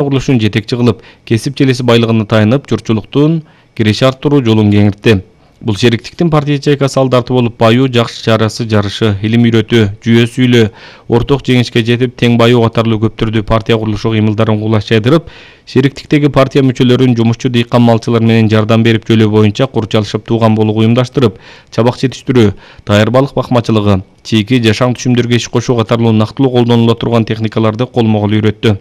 курулушун жетекчи кылып, кесип желеси байлыгына таянып, журтчулуктун киреше арттыруу жолун кеңиртти. Бул шериктиктин партия ячейкасы алдарты болуп, баюу, жакшы чарасы жарышы, илим үйрөтүү, жүйө сүйлөө, орток жеңишке жетип, тең баюу катарлуу көп түрдүү партия курулушу кыймылдарын кулаш жайдырып, шериктиктеги партия мүчөлөрүн жумушчу дыйкан малчылар менен жардам берип жөлөө боюнча курчалышып тууган болууга уюмдаштырып, чабак жетиштирүү, даяр балык бакмачылыгы, чийки жашаң түшүмдөргө иш кошуу катарлуу нактылуу колдонула турган техникаларды колмо-кол үйрөттү.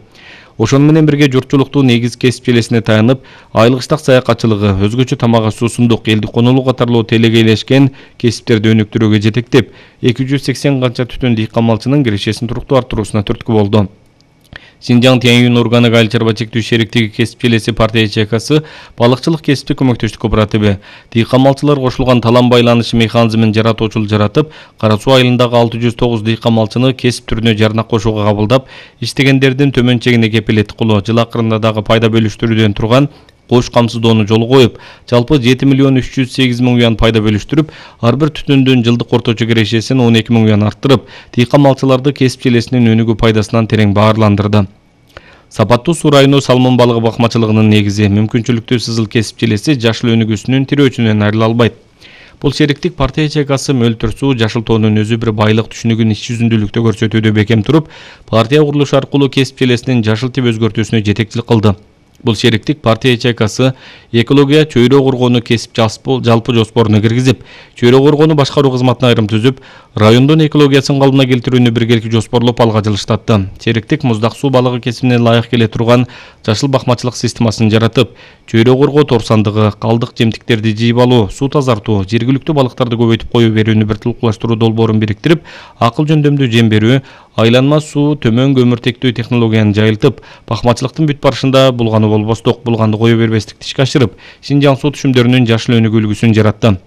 Ошону менен бирге журтчулуктун негиз кесип желесине таянып, айлык иштак саякатчылыгы, өзгөчө тамак суусундук, элди конолуу катарлуу телегейлешкен кесиптерди өнүктүрүүгө жетектеп, 280 канча түтүн дыйкан малчынын кирешесин туруктуу арттырууна түрткү болду. Синжаң Тянь-Юнь органик айыл чарба чектүү шериктиги кесип желеси партия ячейкасы балыкчылык кесиптик көмөктөштүк кооперативи дыйкан малчылар кошулган талам байланышы механизмин жаратуучулук жаратып, Кара Суу айылындагы 609 дыйкан малчыны кесип түрүнө жарнак кошууга кабылдап, иштегендердин төмөн чегине кепилеттик жыл акырында дагы пайда бөлүштүрүүдөн турган кош камсыздоону жолго коюп, жалпы 7 миллион 308 миң юан пайда бөлүштүрүп, ар бир түтүндүн жылдык орточо кирешесин 12 миң юан арттырып, дыйкан малчыларды кесип желесинин өнүгүү пайдасынан терең баарландырды. Сапаттуу суу району салмон балыгы бакмачылыгынын негизи, мүмкүнчүлүктүү сызыл кесип желеси жашыл өнүгүүсүнүн тирөөчүнөн айрыла албайт. Бул шериктик партия ячейкасы мөлтүр суу, жашыл тоонун өзү бир байлык түшүнүгүн иш жүзүндүүлүктө көрсөтүүдө бекем туруп, партия курулушу аркылуу кесип желесинин жашыл тип өзгөртүүсүнө жетекчилик кылды. Бул шериктик партия ячейкасы экология чөйрө коргоону кесип жалпы жоспоруна киргизип, чөйрө коргоону башкаруу кызматына айрым түзүп, райондун экологиясын калыбына келтирүүнү биргеликте жоспорлоп алга жылыштатты. Шериктик муздак суу балыгы кесибине ылайык келе турган жашыл бакмачылык системасын жаратып, чөйрө коргоо торсандыгы, калдык жемтиктерди жыйып алуу, суу тазартуу, жергиликтүү балыктарды көбөйтүп кое берүүнү бир тылкуулаштыруу долбоорун бириктирип, акыл жөндөмдүү жем берүү, айланма суу, төмөн көмүртектүү технологияны жайылтып, бакмачылыктын бүт барышында булгану болбостук, булганды кое бербестикти ишке ашырып, Синжаң суу түшүмдөрүнүн жашыл өнүгүү үлгүсүн жаратты.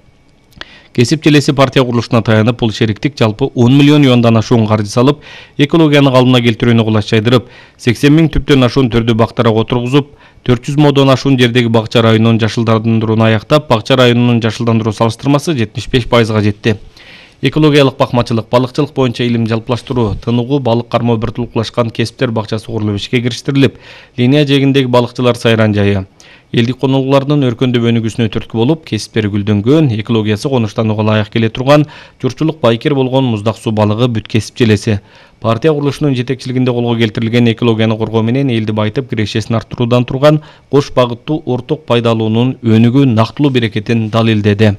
Кесип желеси партия курулушуна таянып, бул шериктик жалпы 10 миллион юандан ашуун каржы салып, экологияны калыбына келтирүүнү кулаш жайдырып, 80 миң түптөн ашуун түрдүү бактарак отургузуп, 400 модон ашуун жердеги бакча районунун жашылдандырууну аяктап, бакча районунун жашылдандыруу салыштырмасы 75%га жетти. Экологиялык бакмачылык, балыкчылык боюнча илим жалпылаштыруу, тыныгуу балык кармоо бир тулкулашкан кесиптер бакчасы курулуп ишке кириштирилип, линия жээгиндеги балыкчылар сайран жайы, элдик конолуулардын өркөндөп өнүгүүсүнө түрткү болуп, кесиптери гүлдөнгөн, экологиясы конуштанууга ылайык келе турган, журтчулук байкер болгон муздак суу балыгы бүт кесип желеси. Партия курулушунун жетекчилигинде колго келтирилген экологияны коргоо менен элди байытып, кирешесин арттыруудан турган кош багыттуу орток пайдалуунун өнүгүү нактылуу берекетин далилдеди.